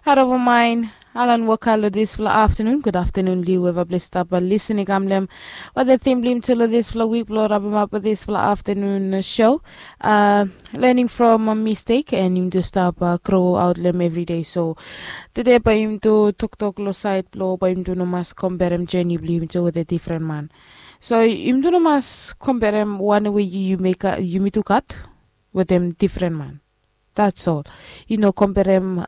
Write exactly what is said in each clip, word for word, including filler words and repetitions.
Haro bamaen, alan waka long disfala aftanun. Gud aftanun liu eva ples stap lisin i kam long em. Wata tim blong yum tu long disfala wik blong rabemap disfala aftanun show. Lening from mistek and yum tu stap gro aut long em evri dei. So tude bae yum tu toktok long saed blong bae yum tu no mas komperem jeni blong yum tu wetem difren man. So yum tu no mas komperem wan we yumi tu gat wetem difren man. That's all. Yu no komperem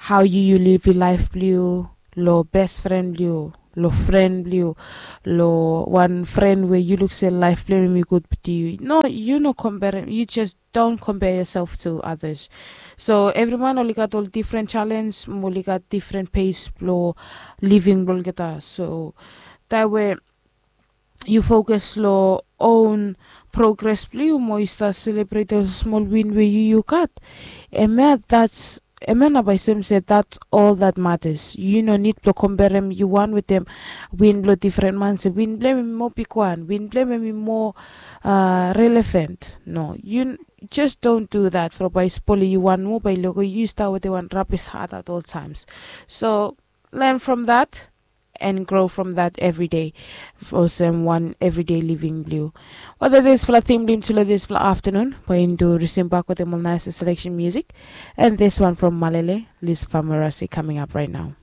hao yu yu livim laef blong yu long bes fren blong yu, long fren blong yu, long wan fren we yu luk se laef blong em i gud. But yu no, yu no komperem, yu jes don't compare yourself to others. So evri man oli gat ol difren jalenj mo oli gat difren pes blong living blong olgeta. So taem we yu fokas long own progres blong yu mo yu stap selebret ol smol win we yu yu gat, em ya that's em ya nao bae soem se that's all that matters. Yu no nid blong komperem yu wan wetem win blong difren man se win blong em i moa bigwan, win blong em i moa relevant. No, yu jes don't do that from bae i spolem yu wan moa, bae i lego yu stap wetem wan rabis hat at all times. So learn from that and grow from that every day. Olsem wan evri dei living blong yu. Wata disfala tim blong yum tu long disfala aftanun bae yum tu risim bak wetem ol naes seleksen musik. And this one from Malele, Lis Famarasi, coming up right now.